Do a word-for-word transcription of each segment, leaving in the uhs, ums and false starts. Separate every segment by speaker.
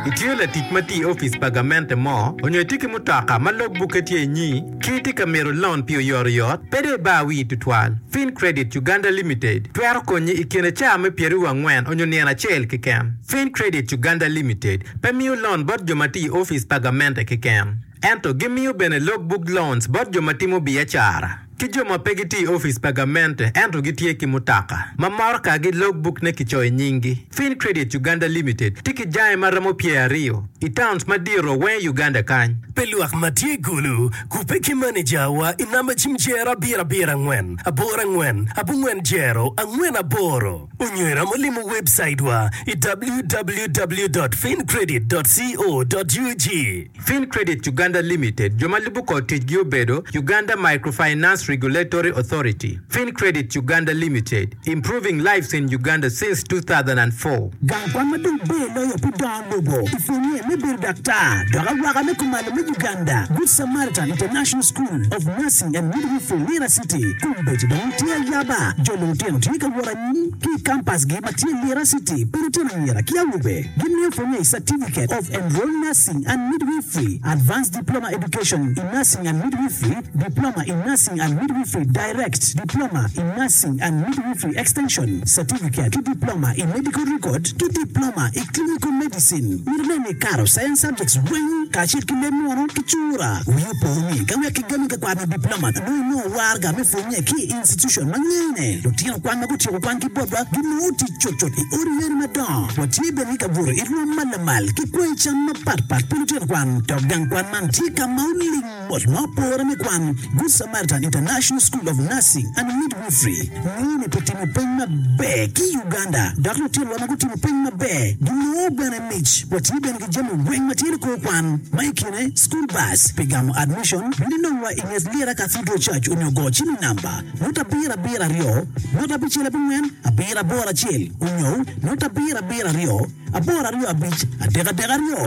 Speaker 1: Itye latic ma tye i opic pa gamente mo onyo itye ki mutoka ma logbukke tye inyi ki itye ka mito loan pi oyotoyot pe dong ibar wii tutwal. Fin Credit Uganda Limited twero konyi i kine caa me pyeraryo angwen onyo nino acel keken. Fin Credit Uganda Limited pe miyo loan bot jo ma tye i opic pa gamente keken. Ento gimiyo bene logbook loans bot jo ma timo biacara ki jo ma pe gitye i opic pa gamente ento gitye ki mutoka ma motoka-gi logbook ne kicoyo i nyinggi. Fin Credit Uganda Limited tye ki jange ma romo pyeraryo i towns madito weng i Uganda kany.
Speaker 2: Pi lwak ma tye i Gulu, kubbe ki manejawa i namba cim jero abiro abiro angwen aboro angwen abongwen jero angwen aboro onyo iromo limo webcaitwa i www dot fincredit dot co dot ug.
Speaker 1: Fin Credit Uganda Limited jo ma lubo kor ticgi obedo Uganda Microfinance Regulatory Authority. Fin Credit Uganda Limited, improving lives in Uganda since two thousand and four.
Speaker 3: Gang kwan ma dong ber loyo pi dongo lobo i pwonye me bedo daktar dok awaka me kumalo me Uganda, Good Samaritan International School of Nursing and Midwifery Lira City kombeddi dong tye ayaba. Jo lutino tye ka wot anyim ki i kampasgi ma tye Lira City pi lutino anyira ki awobe. Gimiyo pwonye i Certificate of Enrolled Nursing and Midwifery, Advanced Diploma Education in Nursing and Midwifery, Diploma in Nursing and Midwifery Direct, Diploma in Nursing and Midwifery Extension, Certificate ki Diploma i Medical Record ki Diploma i Clinical Medicine. Myero inen ni ikato Science Subjects weng kacel ki leb munu ki cura. Wi opo ni ka wek kigami ka kwano diploma nongo inongo waraga me pwonye ki i institution ma ngene. Lutino kwan ma gutyeko kwan ki botwa ginongo tic cutcut i odi yeni madongo. Watye bene ki kabuto i rwom ma lamal ki kwanyi cam mapatpat pi lutino kwan. Dok gang kwan man tye ka ma oling mot ma opore me kwan. Good Samaritan International School of Nursing and Midwifery ngene pi timo peny maber ki i Uganda dok lutinowa ma gutimo peny maber ginongo bene mic. Watye bene ki jami weng ma tye likor kwan ma i kine school bus pi gamo admission bino inongwa i nget Lira Cathedral Church onyo go cim i namba not abiro abiro aryo not abicel abongwen abiro aboro acel onyo not abiro abiro aryo aboro aryo abic adek adek aryo.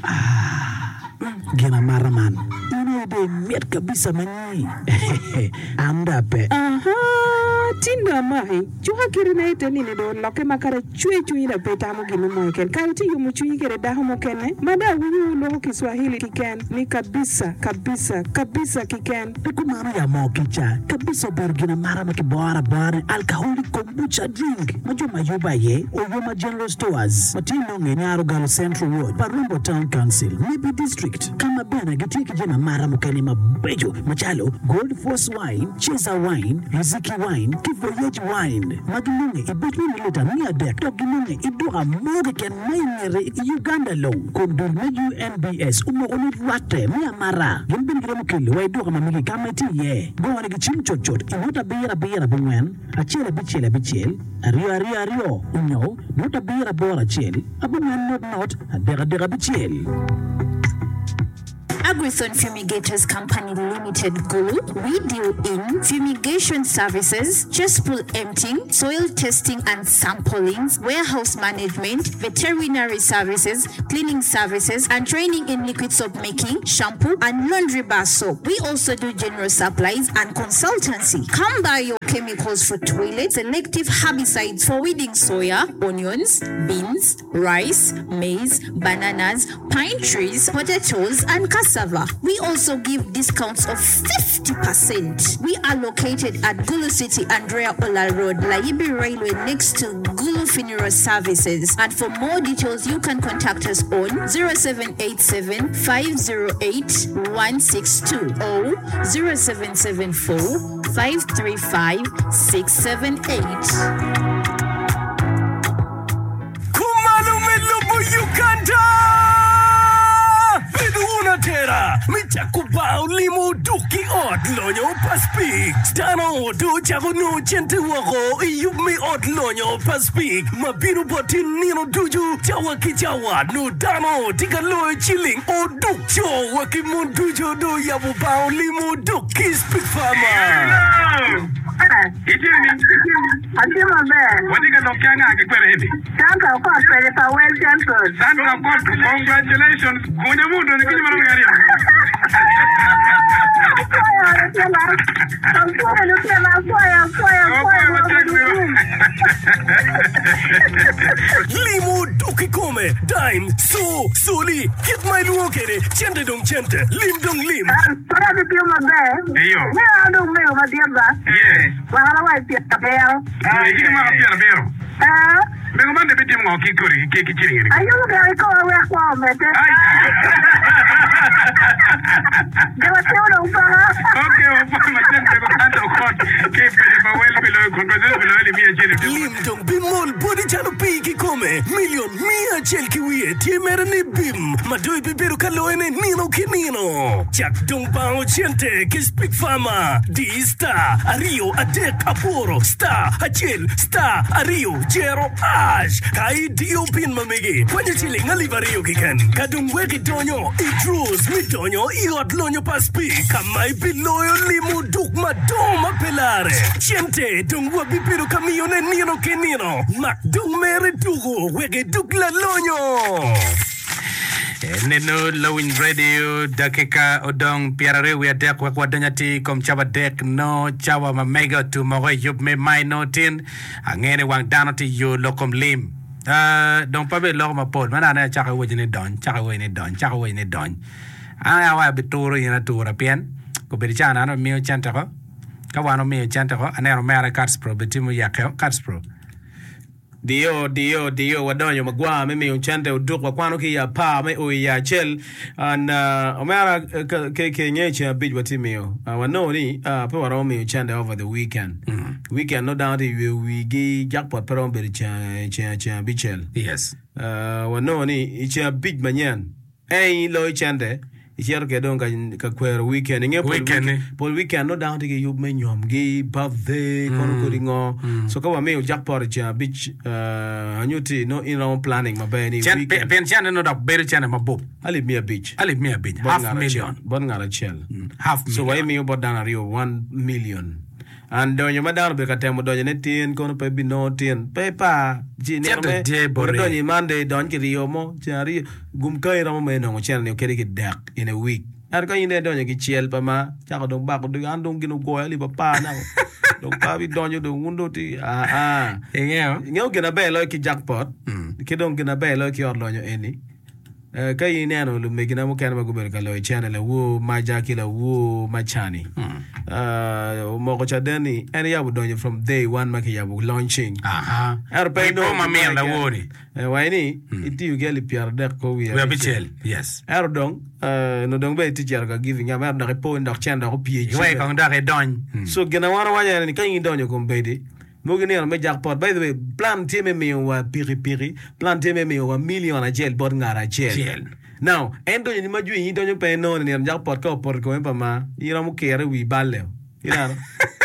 Speaker 3: Ah, gin amata man. In aye dong imit kabisa ma nyi. An dong ape.
Speaker 4: Aha, tin dong amaki. Cuka kiti na ite nini dong olokke ma kadi acwe cwinyi dong pe itamo gin mo keken. Kare tye yomo cwinyi kede dako mukene ma dong awinyo wuloko Kiswahili kiken ni kabisa, kabisa, kabisa kiken.
Speaker 3: Pe kumano ya moo kica kabisa obedo gin amata ma kiboro abora ni alcoholic kombucha drink ma jo ma yubo aye Oyoma General Stores ma tye nonge i Nyarogalo Central Ward, Parumbo Town Council, Nebbi District ka ma bene gitye ki jami amata mukene mabeco macalo Gold Force Wine, Cesar Wine, Riziki Wine ki Voyage Wine ma ginonge i buc me mililita miya adek dok ginonge i duka mo keken ma i ngete i Uganda long kun dul me U N B S omoko ni rwatte me amata. Gin bene giromo kelo wa i duka ma megi ka ma itye iye. Gone ki cim cutcut i not abiro abiro abongwen acel abicel abicel aryo aryo aryo onyo not abiro aboro acel abongwen not not adek adek abicel.
Speaker 5: Agrithon Fumigators Company Limited Gulu, we deal in fumigation services, cesspool emptying, soil testing and samplings, warehouse management, veterinary services, cleaning services, and training in liquid soap making, shampoo, and laundry bar soap. We also do general supplies and consultancy. Come buy your chemicals for toilets, selective herbicides for weeding soya, onions, beans, rice, maize, bananas, pine trees, potatoes, and cassava. We also give discounts of fifty percent. We are located at Gulu City, Andrea Ola Road, Layibi Railway, next to Gulu Funeral Services. And for more details, you can contact us on zero seven eight seven five zero eight one six two or zero seven seven four five three five six seven eight.
Speaker 2: Kumalo me lobo Uganda! Bedo wun atera me cako bar olimo duk ki ot lonyo pa Speke. Dano do cako nongo cente woko i yub me ot lonyo pa Speke ma bino boti nino ducu cawa ki cawa no dano tye ka loyo ciling oduk co wa ki mon ducu do yabo bar olimo duk ki Speke Farmer.
Speaker 6: Atye maber.
Speaker 7: Watye ka lok ki anga ki kwene eni?
Speaker 6: Sandra Okot kwede pa Well Central.
Speaker 7: Sandra Okot, congratulations. Gunya mu donyo kinyi marom gari.
Speaker 6: Apwoyo lutino, apwoyo lutino, apwoyo, apwoyo, apwoyo
Speaker 7: Apwoyo matek
Speaker 6: lwak
Speaker 7: mego.
Speaker 2: Limo dok kikome, dime, so, soli, kit ma ilwongo kwede, cente dong cente, lim dong lim.
Speaker 6: Kore gitiyo maber.
Speaker 7: Iyo.
Speaker 6: Me an dong mego madit ba.
Speaker 7: Yes.
Speaker 6: Mwaka wa i pyerabiro.
Speaker 7: Itye mwaka pyerabiro.
Speaker 6: Eh,
Speaker 7: Mego man de bitimo ngo ki kodi ki ki ciling eni?
Speaker 6: ayubo gire kikoa wek kwo omedde.
Speaker 7: Ai.
Speaker 6: Jo matimo dong paka.
Speaker 7: Okay, wapwoyo matek mego Santa Okot ki pejo pa wel pi loyo congratulations pi loyo alip miya acel.
Speaker 2: Lim dong bimol boti calo pii kikome, milion miya acel ki wiye tye mere ni bim ma dong ibibedo ka loyone nino ki nino. Cak dong bango cente ki Speak Farmer. Di star aryo adek aboro star acel star aryo jero hash. Ka idiyo pin ma megi, kwanyo ciling alip aryo keken. Ka dong wek idonyo i draws mi donyo i ot lonyo pa Speak ka ma ibiloyo limo duk madongo ma pe lare. Cente dong wabibedo ka miyone nino ki nino. Mak dong mere tuko wek iduk lalonyo.
Speaker 1: Neno Lowiny Radio dakika odong pyeraryo wiye adek wek wadony atir i kom cawa adek no cawa ma mege otum oko i yub me maino tin ange ni wang dano tye yo lok kom lim. Uh, dong pe bed loko mapol man ane acako iwaco ni dony cako iwaco ni dony cako iwaco ni dony an awa abituro in atura pien kobedo ca an amiyo cente ko ka wan omiyo cente ko aneno omera Catspro be tye muyake Catspro
Speaker 8: Dio, dio, dio, wadonyo magwar me miyo cente oduk wakwano ki i apar me o i acel. And uh, omera eh, ka- ke ke nge ceng abic watye miyo. Uh, wanongo ni uh, pe waromo miyo cente over the weekend. Weekend no dano tye yweyo wigi jackpot pe romo bedo ceng ceng ceng abicel.
Speaker 1: yes
Speaker 8: Uh, wanongo ni i ceng abic manyen en iloyo cente icito kwede dong ka, ka kwero weekend inge pol
Speaker 1: Weekend ni.
Speaker 8: weekend, pol weekend no dano tye ki yub me nyomgi birthday kono kodi ngo so ka wamiyo jackpot i ceng abic uh, anyuti no in romo planning maber ni
Speaker 1: Cen-
Speaker 8: weekend
Speaker 1: pien cente no dok bedo cente mabup
Speaker 8: alip mia abic
Speaker 1: alip mia abic
Speaker 8: bot
Speaker 1: half
Speaker 8: ngat acel
Speaker 1: million
Speaker 8: bot ngat acel
Speaker 1: half
Speaker 8: so
Speaker 1: million
Speaker 8: waimiyo bot dano aryo one million and donyo ma dano obedo ka temo donyo ne tin kono pe binongo tin pe pa ci nino
Speaker 1: Cente
Speaker 8: me
Speaker 1: tye bote.
Speaker 8: donyo i Monday dony ki ryo mo ceng aryo gum ka iromo me nongo cente ni kede ki dek in a week ento ka in dong idonyo ki cel pa ma cako dong bako dog an dong gin ogoyo alip apar nako dong pa bidonyo dong wun dong ti ah ah
Speaker 1: ingeo
Speaker 8: ingeyo gin aber loyo ki jackpot ki dong gin aber loyo ki ot lonyo eni Eh, ka in ineno lumegina mukene ma gubedo ka loyo cene lawor maja ki lawor macani Eh, omoko caden ni en yabo donyo from day one ma kiyabo launching
Speaker 1: aha
Speaker 8: ento pe
Speaker 1: Wi po ma min lawor ni
Speaker 8: Eh, wai ni itiyo ki alip pyeradek ko wiye
Speaker 1: wiye abicel yes
Speaker 8: ento dong eh, no dong be itye cito ka giving up ento dok ipo ni dok cene dok opye i
Speaker 1: iwek
Speaker 8: cibe.
Speaker 1: kong dok idony
Speaker 8: So gin a wan wawaco ene ni ka in idonyo kombeddi mogo nino me jackpot by the way plan tye me miyo wa pikipiki plan tye me miyo wa million acel bot ngat acel
Speaker 1: Acel.
Speaker 8: now en donyo ni ma jwi in donyo pe inongo ni nino jackpot ka opoto i komi pa ma in romo kire i wi balle ineno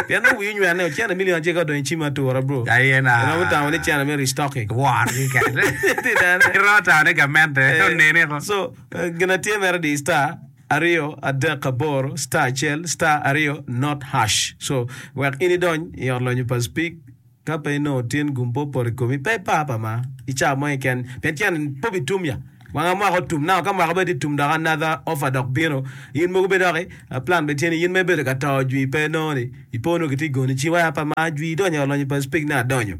Speaker 8: pien nongo wi onywene o cene million acel ka odonyo i cim atura bro
Speaker 1: Aye na.
Speaker 8: iromo tamo ni cene me restocking
Speaker 1: wor keken
Speaker 8: Tinene.
Speaker 1: iromo tamo ni gamente
Speaker 8: Eh,
Speaker 1: onene ko
Speaker 8: So, eh, gin tye mere di star aryo adek aboro star acel star aryo not hash. So, wek in idony i ot lonyo pa Speak ka pe inongo tin gum po opoto i komi pe ipa pa ma i cawa mo keken pien cen po bitum ya wanga mwaka otum now ka mwaka bene tye tum dok another offer dok bino in mogo be doki uh, plan be tye ni in me bedo ka to jwi pe nongo ni ipo nongo kitye goni ci waya pa ma jwi idonyo i ot lonyo pa Speak ne adonyo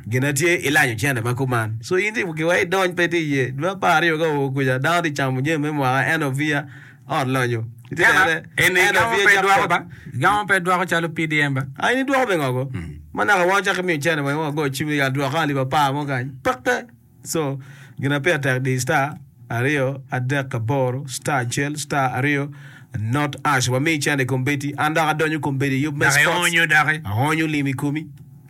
Speaker 8: gin tye ilanyo cene ma kuman so in tye kiwa idony pe tye iye dwe apar aryo ka oo kuca dano tye camo jami me mwaka end of year ot lonyo Itye nene?
Speaker 1: eni
Speaker 8: End of
Speaker 1: gamo
Speaker 8: year
Speaker 1: pe dwoko
Speaker 8: jackpot.
Speaker 1: ba gamo pe dwoko calo PDM ba
Speaker 8: Ah, in idwoko be ngogo ma naka wan cako imiyo cene wa wago cim ni adwoko alip apar mo kany peke so gin pire tek di star aryo adek aboro star acel star aryo not hash wamiyi cene i kombeddi an dok adonyo kombeddi yub me
Speaker 1: dok
Speaker 8: sports
Speaker 1: ionyo doki
Speaker 8: aonyo lim i komi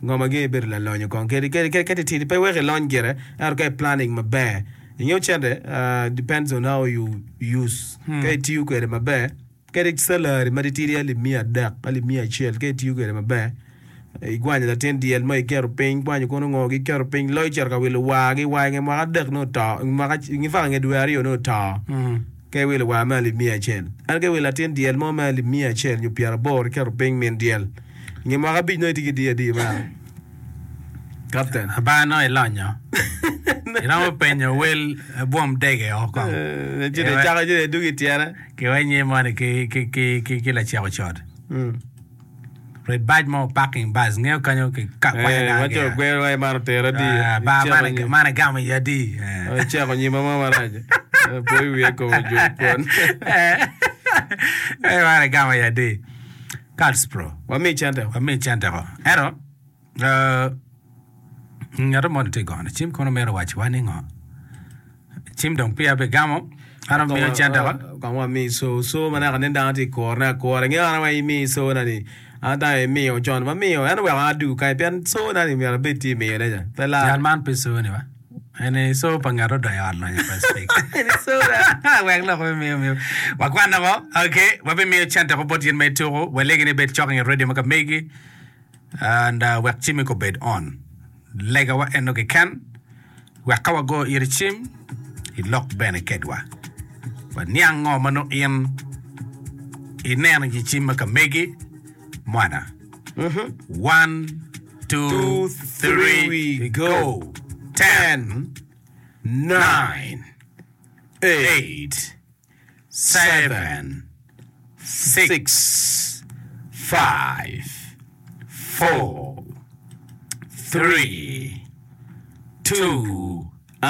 Speaker 8: ngo ma gin ibedo lalonyo kong kedi kedi kedi kedi tidi pe wek ilony gire ento ka i planning maber ingeyo cente uh, depends on how you use ka itiyo kwede maber kadi salary ma titidi alip mia adek alip mia acel ka itiyo kwede maber igwanyo latin dyel mo iketo piny igwanyo kono ngo giketo piny loyo cito ka wilo war gi war i nge mwaka adek nongo oto mwaka in fact nge dwe aryo nongo oto ka iwilo war me alip mia acel ento ka iwilo latin dyel mo me alip mia acel nyo pyeraboro iketo piny min dyel nge mwaka abic nongo itye ki diyo adi mara captain
Speaker 1: aba no ilonyo Iromo penyo wel bwom dege o kong.
Speaker 8: Ci dong icako ci dong idwogo i tyene.
Speaker 1: Kiwa inye moni ki ki ki ki ki laceko cot. Red bac mo parking bus ngeyo kanyo ki ka kwanya
Speaker 8: Eh,
Speaker 1: dano
Speaker 8: ma co
Speaker 1: ki.
Speaker 8: gwero wa man otero adi.
Speaker 1: Ah, ba
Speaker 8: Iceko
Speaker 1: man
Speaker 8: nyi-
Speaker 1: man igamo iye adi. Eh.
Speaker 8: Iceko nyima mo marac. Eh, Poyo wiye kome ojuko kwon.
Speaker 1: Eh, man igamo iye adi. Cards Pro.
Speaker 8: Wami cente.
Speaker 1: Wami cente ko. Ento eh, ngat mo tye gono cim kono mito waco ni ngo. Cim dong peya bigamo. An omiyo cente ko.
Speaker 8: Kong wami so so ma naka nen dano tye i kurone akura. Ingeyo an wa imi so na ni. An dano imiyo con wamiyo en oweko an adugo kany pien so na ni myero abed tye imiyo ne ca. Pe lar.
Speaker 1: Jal man pe so ni ba. Eni so pa ngat odonyo i ot lonyo pa speak. Wek lok me miyo miyo. Wakwan ko. Okay, wabimiyo cente ko bot yin me tuko. Walegi ni bed cok i nget radio ma ka megi. And uh, wek cimi ko bed on. Lega wa eno keken. Wek ka wago iri cim, ilok bene kedwa. Waniang ngo ma nongo in ineno i cim ma ka megi. Mwana. One, two,
Speaker 8: Two,
Speaker 1: three,
Speaker 8: three,
Speaker 1: go. Ten, nine, eight, seven, six, five, four, three, two,